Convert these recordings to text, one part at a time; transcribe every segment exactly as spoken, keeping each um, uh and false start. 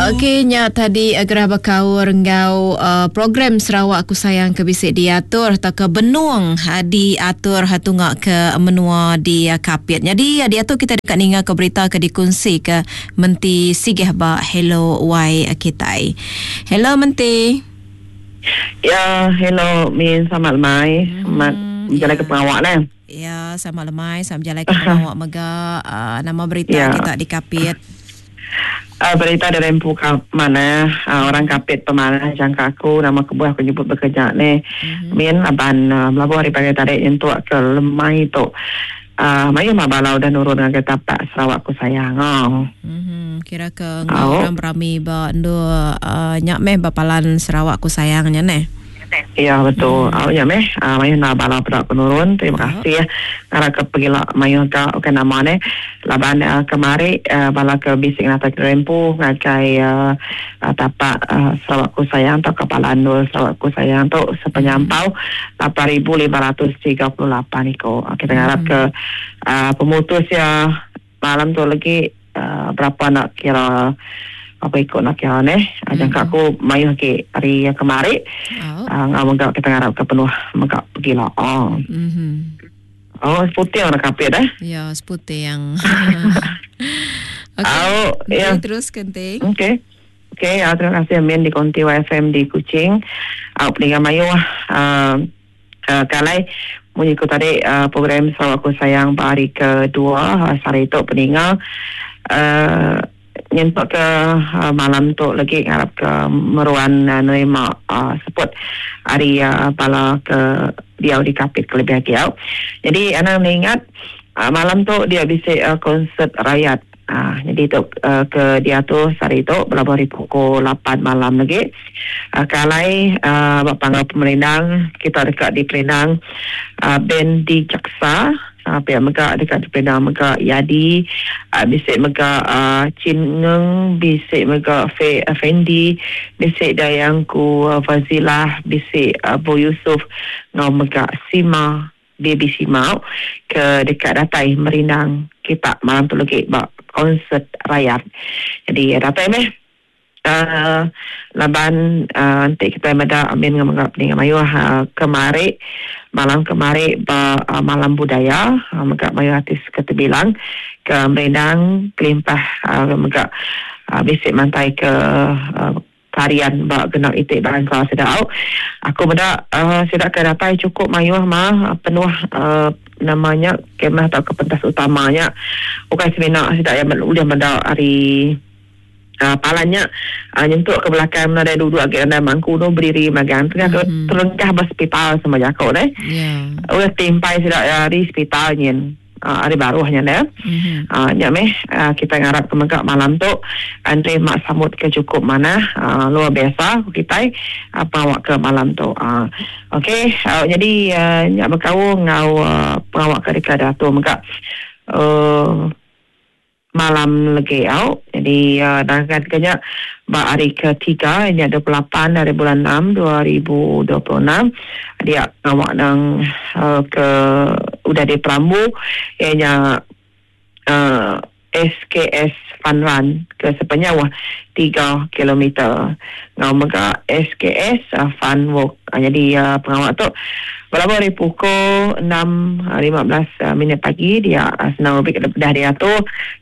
Okey, nya tadi gerah bekaur enggau uh, program Sarawak Aku Sayang ke bisi diatur atau ke benung uh, diatur tunga ke menua di uh, Kapit. Jadi uh, diatur kita dekat ninga ke berita ke dikunsi ke Menti Sigeh ba Hello Y Kitai. Hello Menti. Ya, hello Min, selamat lemai. Selamat hmm, jalan ya. Ke pengawak lah. Ya, selamat lemai, selamat jalan ke pengawak mega. Uh, nama berita ya. Kita di Kapit. Uh, berita dari empu mana uh, orang Kapit pemanah jangka aku nama kebuah aku nyebut bekerja ni. Mm-hmm. Min laban uh, melabuh hari pagi tadi nyentuk ke lemai tu. Uh, mayu mah balau dan nurun ngagai tapak Sarawak Aku Sayang. Oh. Mm-hmm. Kira ke oh. Orang berami ba ndu uh, nyak meh bapalan Sarawak Aku Sayang nya neh. Ya betul. Hmm. Oh ya meh, uh, mayu na balau pedak penurun. Terima oh. kasih. Ngarap ke pergilah mayu ka ke nama ne. Laban uh, kemari uh, bala ke bisik nata ke rempu ngagai uh, uh, tapak uh, Sarawak Aku Sayang atau Kepala Nur Sarawak Aku Sayang tu sepenyampau lapan ribu lima ratus tiga puluh lapan iko. Kita ngarap hmm. ke uh, pemutus ya malam tu lagi uh, berapa nak kira apa ikut nak kira ni. Mm-hmm. Jangka aku mayuh ke hari yang kemari. Oh. Uh, ngau menggak kita ngarap ke penuh menggak pergi lah. Oh. Mm-hmm. Oh, seputih orang Kapit eh? Ya, seputih yang. Okey. Oh, ya. Terus kenting. Okey. Okey, uh, terima kasih Amin di Konti Y F M di Kuching. Uh, peninggal mayuh uh, uh, kalai mengikut tadi uh, program Sarawak Aku Sayang hari kedua uh, hari itu peninggal uh, nyentuk ke uh, malam tu lagi ngarap ke meruan uh, nerima uh, support hari uh, bala ke dia di Kapit kelebihan dia. Jadi anak mengingat uh, malam tu dia bisa uh, konsert rakyat. Uh, jadi tu uh, ke dia tu hari tu berapa hari pukul lapan malam lagi. Uh, kalai uh, bapa pemerindang kita dekat di Perindang uh, band di Jaksa. Uh, pihak mega dekat di Perindang mega Yadi, uh, bisik mega uh, Chin Ngeng, bisik mega Fe, uh, Fendi, bisik Dayangku uh, Fazilah, bisik uh, Bo Yusuf, ngau mega Sima, Baby Sima ke dekat datai Merindang kita malam tu lagi bak konsert rakyat. Jadi datai meh uh, laban uh, nanti kita meda amin ngau mega peningan mayuh uh, kemari malam kemari ba uh, malam budaya uh, mega mayuh artis keterbilang ke Merindang kelimpah uh, mega uh, bisik mantai ke uh, tarian ba genap itik bangsa sedau. Aku meda uh, sedak ke datai cukup mayuh mah penuh uh, namanya kemah atau ke pentas utamanya. Bukan semina sedak yang boleh meda hari Uh, palannya uh, nyentuk ke belakang ada duduk agak ada mangku tu berdiri magang tengah mm-hmm. terlengkah berspital sama jakok deh. Yeah. Udah timpai sedak hari spital nyen. Uh, hari baruhnya dah. Mm-hmm. Uh, nya meh uh, kita ngarap ke megak malam tu Andre Mak Samut ke cukup mana uh, luar biasa kita uh, pengawak ke malam tu. Uh, Okey, uh, jadi uh, nyak berkau ngau uh, pengawak ke dekat datu megak uh, malam lagi au. Jadi uh, dangkan kenya ba hari ketiga ini dua puluh lapan hari bulan enam dua ribu dua puluh enam dia awak nang uh, ke udah di Perambu ianya uh, S K S Fun Run ke sepanjang tiga kilometer. Ngau mega S K S uh, Fun Walk. Uh, jadi uh, pengawak tu berapa hari pukul enam lima belas uh, minit pagi dia uh, senang lebih dah dia tu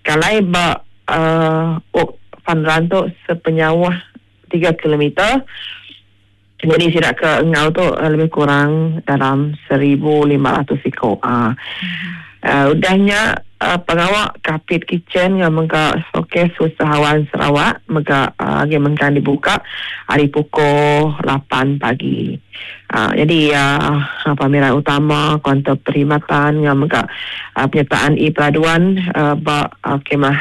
kalai ba uh, walk Fun Run tu sepenyawah tiga kilometer. Jadi sidak ke engau tu uh, lebih kurang dalam seribu lima ratus ekor. Uh. Mm-hmm. Uh, udahnya uh, pengawak Kapit Kitchen yang mengka showcase usahawan Sarawak mega uh, lagi mengkan dibuka hari pukul lapan pagi. Uh, jadi uh, pameran utama kaunter perkhidmatan yang mengka uh, penyertaan e-peraduan uh, ba uh, kemah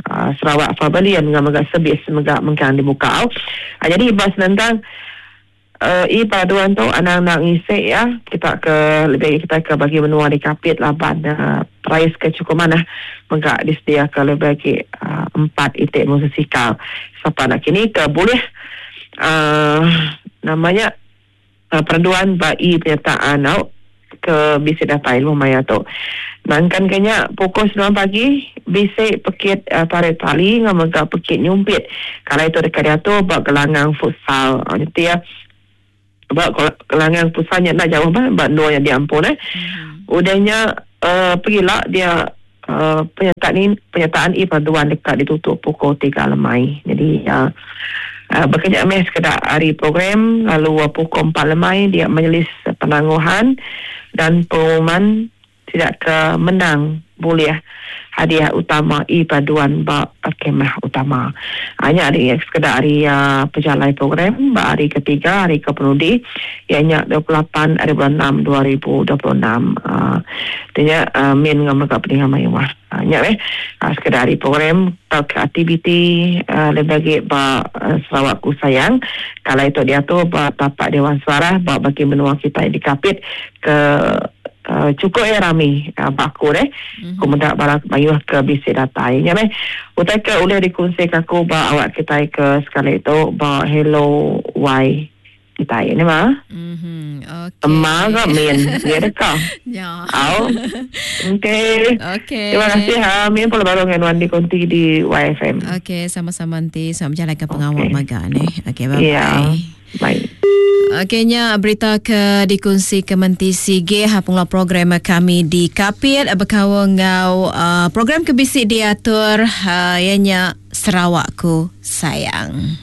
uh, Sarawak Pavilion yang mengka servis mengka mengkan dibuka. Uh, jadi bas nentang Uh, e-peraduan tu anak-anak ngisik ya kita ke lebih kita ke bagi menua di Kapit laban uh, price ke cukup mana mengka disediakan lebih lagi uh, empat itik musikal siapa nak kini ke boleh uh, namanya uh, peraduan bagi penyertaan au ke bisik datai lumayan tu. Nangkan kenya pukul sembilan pagi bisi pekit uh, tarik tali ngau mega pekit nyumpit. Kalau itu dekat diatur bak gelangang futsal. Uh, jadi ya bak gelangang futsalnya nak jauh bah bak dua yang diampun eh. Mm-hmm. Udahnya uh, pergilah dia uh, penyertaan ni penyertaan i paduan dekat ditutup pukul tiga lemai. Jadi uh, uh, bekerja meh sekedar hari program lalu uh, pukul empat lemai dia majlis penangguhan dan pengumuman tidak ke menang boleh hadiah utama i paduan ba kemah utama. Hanya hari sekedar hari uh, perjalanan program ba hari ketiga hari ke penudi ianya dua puluh lapan hari bulan enam dua ribu dua puluh enam. Uh, artinya uh, min ngam ka peningan mayuah. Uh, nya eh uh, sekedar hari program atau ke aktiviti uh, lebih bagi ba uh, Sarawak Ku Sayang. Kalau itu dia tu ba tapak Dewan Suara ba bagi menua kita di Kapit ke Uh, cukup ya rami uh, baku deh. Mm-hmm. Kemudian barang mayuh ke bisik datai. Ya meh. Utai ke boleh dikongsi ke aku ba awak kita ke sekali itu ba hello y kita ini mah. Mhm. Okey. Emak ke min dia dekat. Ya. Au. Okey. Okey. Terima kasih ha min pula baru dengan Wandi Konti di Y F M. Okey, sama-sama nanti selamat menjalankan pengawal okay. maga ni. Okey, bye bye. Ya. Bye. Okeynya berita ke dikongsi ke Menti Sige ha pengelola program kami di Kapit berkawan ngau uh, program ke bisik diatur uh, ianya Sarawakku Sayang.